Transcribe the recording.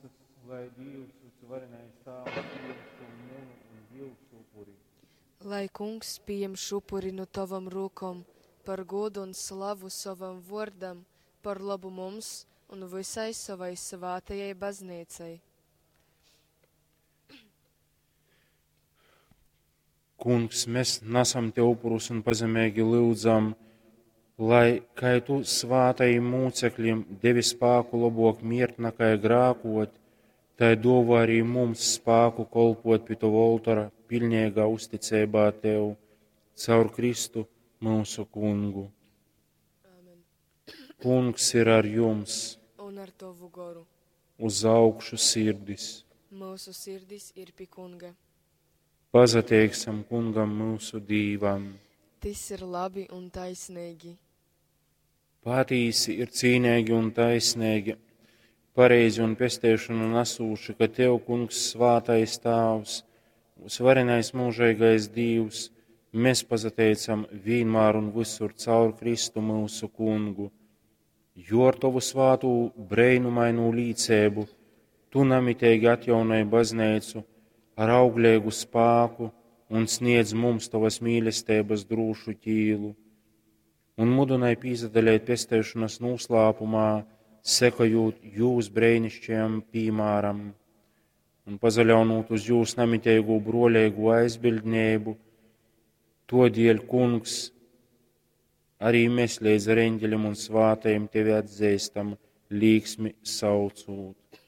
Bazneicas, lai Dīvs, Vysuvarenais Tāvs, pījam šū munu un jyusu upuri. Lai Kungs pījam šupuri nu tovom rūkom par gūdu un slavu sovam vōrdam, par lobu mums un vysai sovai svātajai Bazneicai. Kungs, mēs nasam Tev upurus un pazemeigi lyudzam, lai, kai Tu svātajim mūcekļim devi spāku lobok mirt nakai grākot, tai dōvā arī mums spāku kolpot pi Tova oltora piļneigā uzticeibā Tev, caur Kristu mūsu Kungu. Āmen. Kungs ir ar jums, Un ar tovu goru. uz augšu sirdis. Mūsu sirdis ir pi Kunga. Pazateiksim Kungam mūsu Dīvam. Tis ir labi un taisnīgi. Patīsi ir cīnīgi un taisnīgi, pareizi un pesteišanu nesūši, ka Tev, Kungs, svātais Tāvs, varenais mūžīgais Dīvs, mēs pazateicam vienmēr un visur caur Kristu mūsu Kungu, jo ar Tavu svātū breinumainū līcēbu Tu namitīgi atjaunoji baznīcu ar auglīgu spāku un sniedz mums Tavas mīlestības drūšu ķīlu un mudināja pīzadalēt pesteišanas noslēpumā, sekojot jūs brēnišķajam pīmāram un pazaļaunot uz jūs namitīgo broļīgo aizbildnību, todēļ, Kungs, arī mēs līdz ar eņģeļiem un svātajiem tevi atzīstam, līksmi saucot.